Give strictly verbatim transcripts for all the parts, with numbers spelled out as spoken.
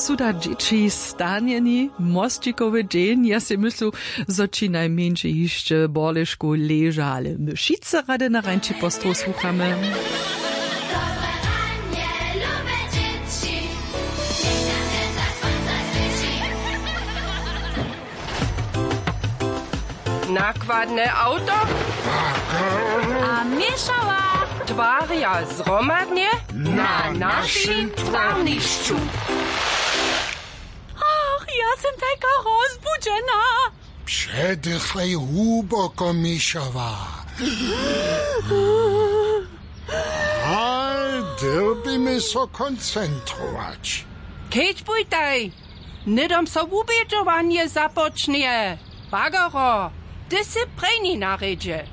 Tuda dźěći stanjeni mosćikowy dźeń, ja sej myslu, zo ći najmjeńši hišće w borlešku leža, ale my wšitcy rady na rańči postrow słuchamy. Nakładne awto a měšała twarja zhromadnje na našim twarnišću. Ach, ja sym tajka rozbudźena. Předychaj hłuboko, Mišała. A dyrbimy so koncentrować. Kedźbujtaj, hnydom so wubědźowanje započnje. Bagaro, ty sy prěni na rědźe.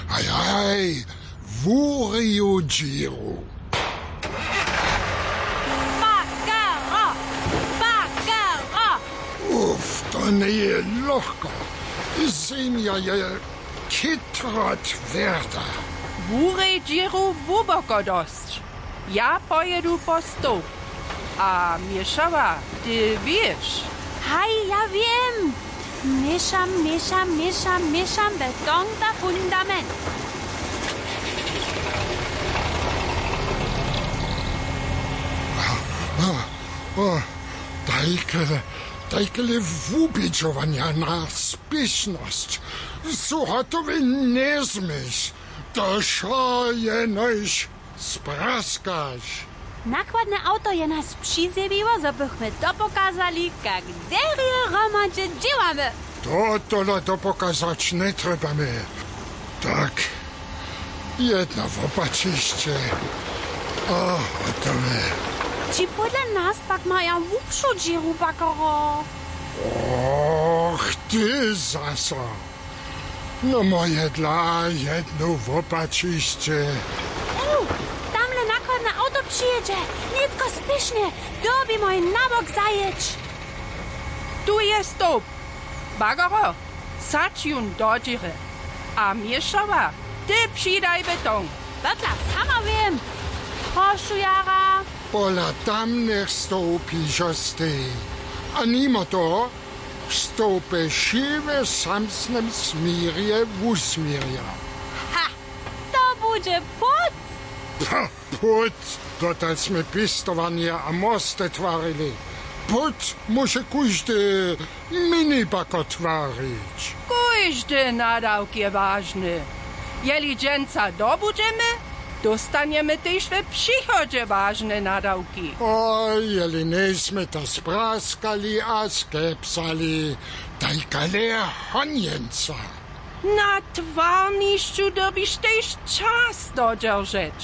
Haj, haj, wuriju dźěru. Bagaro, bagaro. Uf, to njeje lochko. Zemja je chytro twěrda. Wurej dźěru hłuboko dosć. Ja pojědu po stołp. A měšała, ty wěš? Haj, ja wěm. Měšam, měšam, měšam, měšam, betong za fundament. O, tajkele, tajkele wubědźowanja na spěšnosć. Su hotowy, njezmyš. To wšo jenož spraskaš. Nakładne awto je nas přizjewiło, zo bychmy dopokazali, kak derje hromadźe dźěłamy. To tola dopokazać njetrjebamy. Tak, jedno wopačišće a hotowe. Ći podle nas pak maja hłubšu dźěru, Bagaro? Och, ty zaso. No moje dla jedno wopačišće. U, tamle nakładne awto přijědźe. Nětko spěšnje, dyrbimy jim na bok zajěć. Tu je stołp. Bagaro, sadź jón do dźěry. A měšała, ty přidaj betong. Dotlach sama wěm. Prošu jara. Pola tamnych stołpi žo stej. A nimo toho, stołpy wšě w samsnym směrje wusměrja. Ha! To budźe płót! Pha, płót! Dotal smy pěstowanje a mosty twarili. Płót móže kóždy minibako twarić. Kóždy nadawk je wažny. Jeli dźensa dobudźemy, dóstanjemy tež w přichodźe wažne nadawki. A jeli njejsmy to spraskali a skepsali, tajkale honjenca. Na twarnišću dyrbiš tež čas dodźeržeć.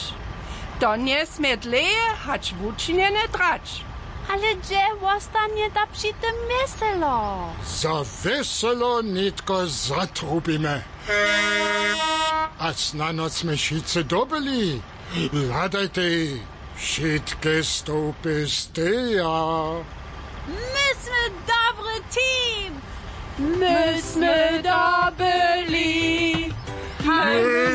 To njesmě dlěje hač wučinjene trać. Ale hdźe wostanje da při tym wjeselo? Za wjeselo nětko zatrubimy. A snano smy wšitcy dobyli. Hladajtej, wšitke stołpy steja. My smy dobry team! My smy dobyli! Haj, my